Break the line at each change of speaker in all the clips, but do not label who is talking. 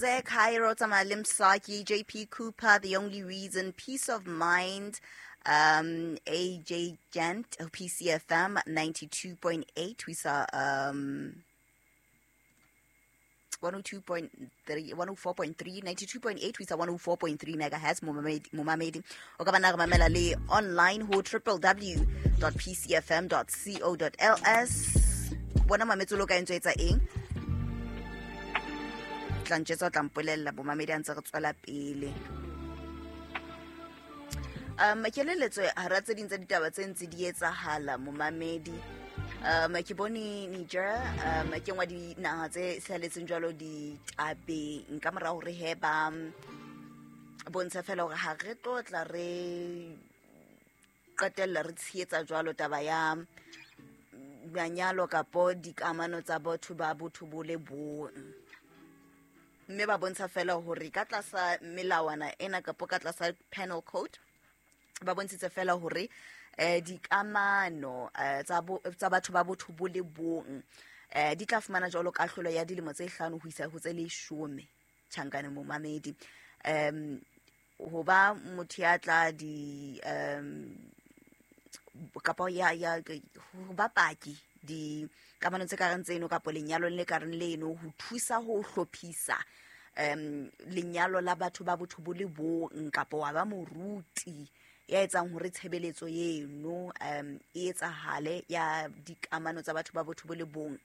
Jose Cairo tsamaya le Msaki, JP Cooper, The Only Reason, Peace of Mind, AJ Gent, PCFM 92.8. We saw 102.3, 104.3, 92.8 ho isa 104.3 megahertz, momamedi o ka bana re mamela le online ho www.pcfm.co.ls. Bona mametsolo ka entso etsa eng, tla ntjetsa, o tla mpolella bomamedi a ntse re tswela pele. Ke leletso hara tse ding tsa ditaba tse ntse di etsahala, momamedi. Ke bone Niger, ke nngwe dinaha tse hlaheletseng jwalo ditabeng ka mora hore he ba bontsha fela hore ha re tlo tla re qetella re tshehetsa jwalo taba ya manyalo kapo dikamano tsa batho ba botho bo le bong, mme ba bontsha fela hore ka tlasa melawana ena kapo ka tlasa penal code ba bontshitse fela hore dikamano tsa batho ba botho bo le bong di tla fumana jwalo kahlolo ya dilemo tse 5 ho isa ho tse 10 tjhankane, momamedi. Ho ba motho ya tla di kapa ya ho ba paki dikamanong tse kareng tseno kapo lenyalong le kareng leno ho thusa ho hlophisa lenyalo la batho ba botho bo le bong, kapo wa ba moruti ya etsang hore tshebeletso eno e etsahale ya dikamano tsa batho ba botho bo le bong,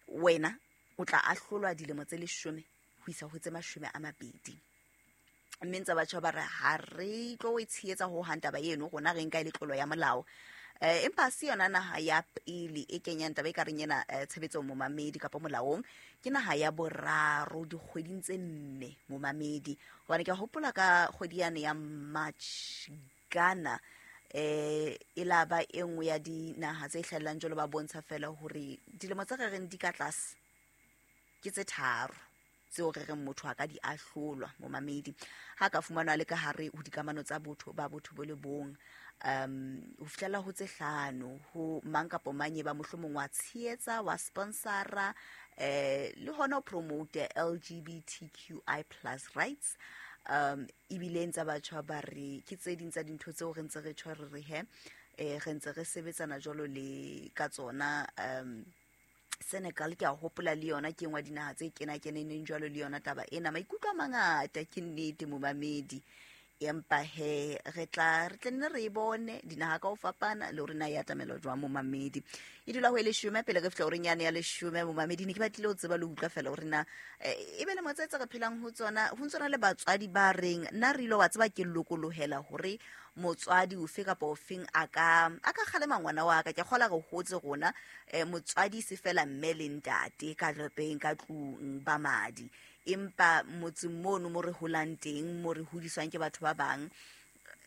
wena o tla ahlolwa dilemo tse 10 ho isa ho tse 20. Mme ntse batjha ba re ha re tlo e tshehetsa ho hang taba eno, rona re nka e le tlolo ya molao. Empa se yona naha ya pele e kenyang taba e ka reng ena tshebetsong, momamedi, kapa molaong. Ke naha ya boraro dikgweding tse 4, momamedi, hobane ke a hopola ka kgwedi yane ya March, Ghana e la ba e nngwe ya dinaha tse hlahellang jwalo, ba bontsha fela hore dilemo tse re reng di ka tlase ke tse 3 tseo re reng motho a ka di ahlolwa, momamedi, ha ka fumanwa le ka hare ho dikamano tsa botho ba botho bo le bong, ho fihlela ho tse 5 ho mang kapo mang e ba mohlomong wa tshehetsa, wa sponsora, le hona ho promote LGBTQI plus rights. Ebile ntse batjha ba re ke tse ding tsa dintho tseo re ntse re tjho re re he re ntse re sebetsana jwalo le ka tsona. Senegal ke a hopola le yona ke nngwe ya dinaha tse kena-keneneng jwalo le yona taba ena. Maikutlo a mangata, ke nnete, momamedi, empa he re tla re tla nne re e bone dinaha ka ho fapana le hore na e atamela jwang, momamedi. E dula ho e 10 pele re fihla horeng yane ya 10, momamedi. Ne ke batlile ho tseba le ho utlwa fela hore na e be lemo tse tse re phelang ho tsona, ho ntsona le batswadi ba reng nna re ile wa tseba ke lokolohela hore motswadi ofe kapa ofeng a ka kgalema ngwana wa ka. Ke kgola re hotse rona motswadi se fela mme le ntate ka lapeng ka tlung ba madi, empa motseng mono mo re holang teng, mo re hodiswang ke batho ba bang,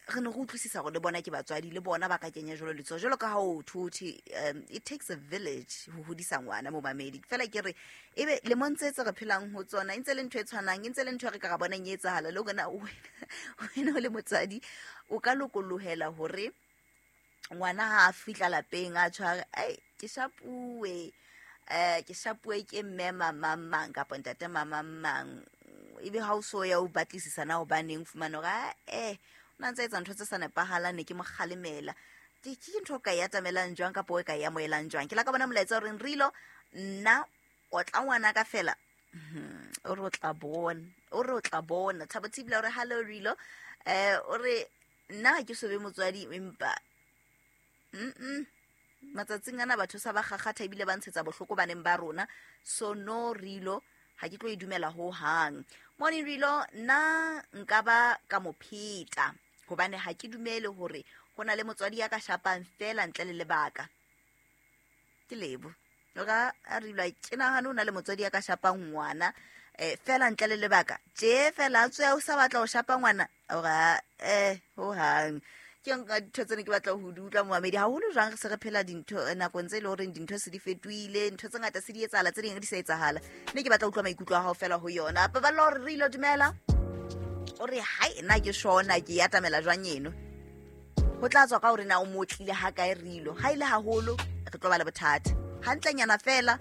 re ne re utlwisisa hore le bona ke batswadi, le bona ba ka kenya jwalo letsoho jwalo ka ha o thothe. It takes a village ho hodisa ngwana, momamedi. Fela ke re ebe lemong tse tse re phelang ho tsona e ntse le ntho e tshwanang, e ntse le ntho e re ka ra bonang e etsahala le hore na wena o le motswadi o ka lokolohela hore ngwana ha a fihla lapeng a tshware ai ke shapuwe, ke shapuwe ke mme mama mang kapa ntate mama mang, ebe ha o so ya o batlisisa na hobaneng, fumana hore o na ntse etsa ntho tse sa nepahalang, ne ke mo kgalemela. Ke ntho o ka e atamelang jwang kapa o ka e amohelang jwang? Ke la ka bona molaetsa o reng Rilo nna o tla ngwana ka fela, o re o tla bona, o re o tla bona. Thabo Thibela o re hello Rilo, o re nna ha ke so be motswadi empa matsatsing ana batho sa ba kgakgatha ebile ba ntshetsa bohloko baneng ba rona, so no Rilo ha ke tlo e dumela ho hang. Morning Rilo, nna nka ba ka mo pheta hobane ha ke dumele hore ho na le motswadi ya ka shapang fela ntle le lebaka. Ke lebo ka a Rilo, ke nahane ho na le motswadi ya ka shapang ngwana fela ntle le lebaka tje fela a tswe o sa batla ho shapa ngwana ora ho hang. Ke nka dintho tsene ke batla ho di utlwa, momamedi, haholo jwang re se re phela dintho nakong tse e le horeng dintho se di fetohile, ntho tse ngata se di etsahala, tse ding di sa etsahala. Mme ke batla ho utlwa maikutlo a hao fela ho yona. Paballo hore re ilo dumela o re hai nna ke shona ke e atamela jwang eno, ho tla tswa ka hore na o motlile ha kae Rilo. Ha ile haholo re tlo ba le bothata, hantlenyana fela